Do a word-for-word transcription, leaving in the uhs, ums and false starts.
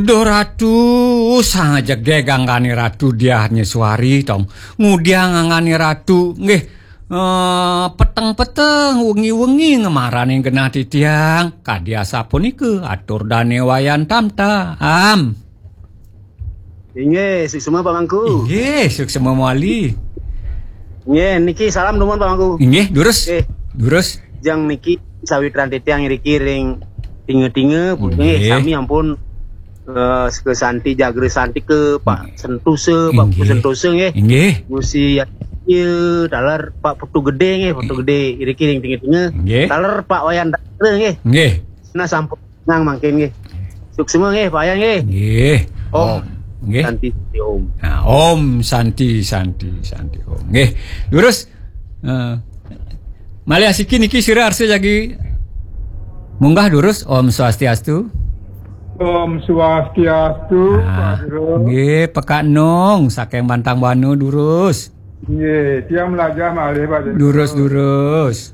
Duh Ratu, sang jegég anggané Ratu Diah Nyuari tong. Ngudiang anggané Ratu, nggih. Eh, peteng-peteng, wengi-wengi ngemaraning genah titiang. Kadi asapunika atur dané Wayan Tamtam. Inggih, suksma Pak Mangku. Inggih, suksma mawali. Inggih, niki salam dumun Pak Mangku. Inggih, durus. Inggih. Durus. Jang niki sawitran titiang iriki ring tinga-tinga, nggih, sami ampun eh, ke Santi Jagra Santi ke Pak Sentosa, Pak Putu Sentosa nggih. Inggih. Gusti ya taler Pak Putu Gedé nggih, Putu Gedé iriki ring tinga-tinga. Inggih. Taler Pak Wayan Dara nggih. Nggih. Nah sampun nang mangkin nggih. Suksma nggih Pak Wayan nggih. Nggih. Om. Om. Nggih. Santi Santi Om. Nah, Om Santi Santi Santi Om. Nggih. Durus. Eh, malih asiki niki sira arsa jagi munggah durus. Om Swastiastu. Om Swastiastu, nah, Pak Guru. Nggih, Pekak Nung saking Bantang Wanu durus. Nggih, tiang melajah malih Pak Guru. Durus durus.